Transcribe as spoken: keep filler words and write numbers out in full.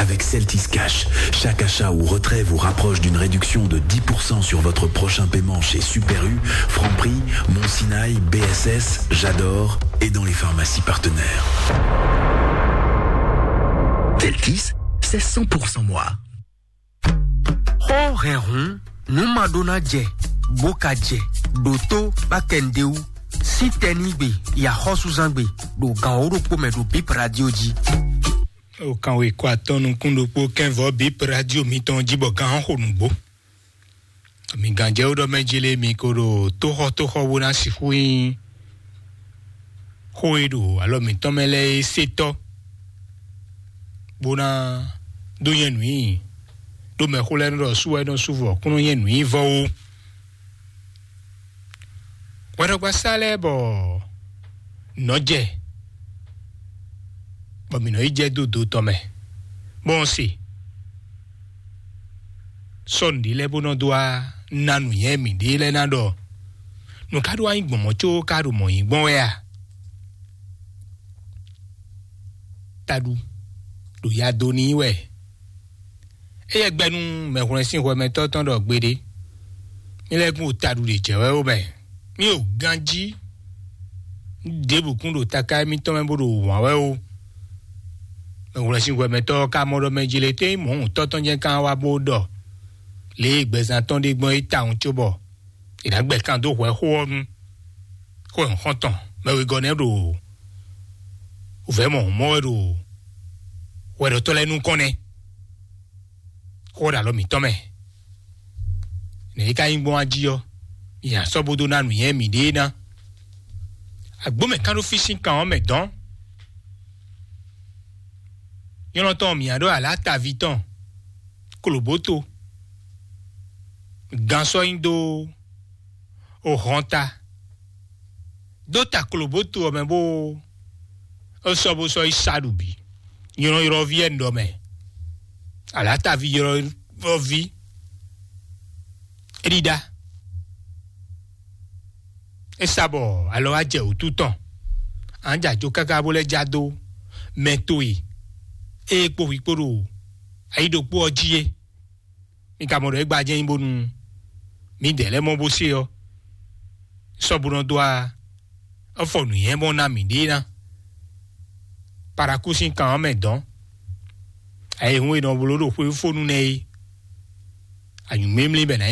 Avec Celtis Cash, chaque achat ou retrait vous rapproche d'une réduction de dix pour cent sur votre prochain paiement chez Super U, Franprix, Mon Sinaï, B S S, J'adore et dans les pharmacies partenaires. Celtis, c'est cent pour cent moi. Xó hɛn hǔn, nǔ ma ɖó ná jɛ, bó ka jɛ, ɖo tó bá kɛ nǔɖé wú, sín tɛnígbe, yi axɔ́súzángbe, ɖo gan wǒ ɖokpó mɛ ɖo Bip Radio jí. O kan we kɔ atɔn nukún ɖokpó kɛnvɔ Bip Radio mitɔn jí bɔ gan xo nǔgbó. Mi gǎnjɛwú ɖɔ mɛ jí lé mi ko ɖo tóxɔtóxɔ bó ná sixú nyí xó e ɖo alɔ mǐtɔn mɛ lɛ́ɛ é sétɔ́, bó ná dó nyɛ nǔ nyi ɖó mɛxó lɛ́ɛ nɔ ɖɔ sú wɛ nɔ sú vɔ kún nɔ nyɛ nǔ nyi vɔ ó. Hwɛɖɔgbasá lɛ́ɛ bɔ nɔ́ jɛ, bɔ mǐ nɔ yi jɛ dó do tɔn mɛ, bɔ un se sɔ́ nǔɖé lɛ́ɛ bó nɔ dó wá ná nǔnywɛ́ mǐɖée lɛ́ɛ ná ɖɔ nǔ ká ɖó wá nyí gbɔn mɔ̌ có ká ɖo mɔ̌ nyí gbɔn wɛ a? Taɖu ɖo ya dó n'i wɛ. Éyɛ́ gbɛ́ nú mɛhwlɛ́n sín hwɛmɛtɔ́ tɔn ɖɔ gbeɖé: "Mi lɛ́ kún ɖo taɖu ɖě jɛ wɛ ó mɛ. Mi ɖo ganjí ɖěbǔ kún ɖo taká émítɔn mɛ bó ɖo wǎn wɛ ó." Mɛhwlɛ́n sín hwɛmɛtɔ́ ɔ́ ka mɔ ɖɔ mɛ jí lě tɛ́ nyí mɔ̌huntɔ́ tɔn jɛ́n kan wá bó ɖɔ lě e gbɛzán tɔn ɖe gbɔn é tawun cóbɔ è nǎ gbɛ kan dó hwɛ xó ɔ́ nu. Xó nyɔ̌xɔ́ntɔn mɛ wegɔ́ nɛ́ ɖo vɛ̌ mɔ̌ mɔ wɛ ɖo hwɛɖɔtɔ́ lɛ́ɛ nukɔn nɛ́. Xó ɔ́ ɖo alɔ mǐtɔn mɛ. Nɛ̌ é ka nyí gbɔn wá jí ɔ́, nya sɔ́ bó dó ná nǔnywɛ́ mǐɖée ná. Agbǒ mɛ kán ɖó fí sín kan ɔ́ mɛ dɔ̌n. Nyɔ́lɔ́ntɔn mǐ ǎ ɖó alǎtaví tɔn, klobǒto, gan sɔ́ nyi dó ohɔnta, dó ta klobǒto ɔ́ mɛ bó sɔ́ bó sɔ́ yi sa ɖu bǐ. Nylɔ́nylɔ́ví wɛ un ɖɔ mɛ. Alǎtaví ylɔ́ví é ɖíɖá. É sa bɔ alɔ wá jɛ wǔtu tɔn. An jɛ ajo káká bó lɛ́ já dó mɛ towe ée kpó hwi kpó ɖo ayi ɖokpó ɔ́ jí é. Mi ka mɔ ɖɔ é gbajɛ nyi bónú mǐdɛɛ lɛ́ɛ mɔ bó se ɔ́, sɔ́ bó nɔ dó a ɔ́ fɔ nǔnywɛ́ mɔ ná mǐɖée ná. Parakúsin kan ɔ́ mɛ dɔn. Ayihún e nɔ bló ɖo xwéfónú nɛ́ é. Anyǔmímlí bɛ ná nyí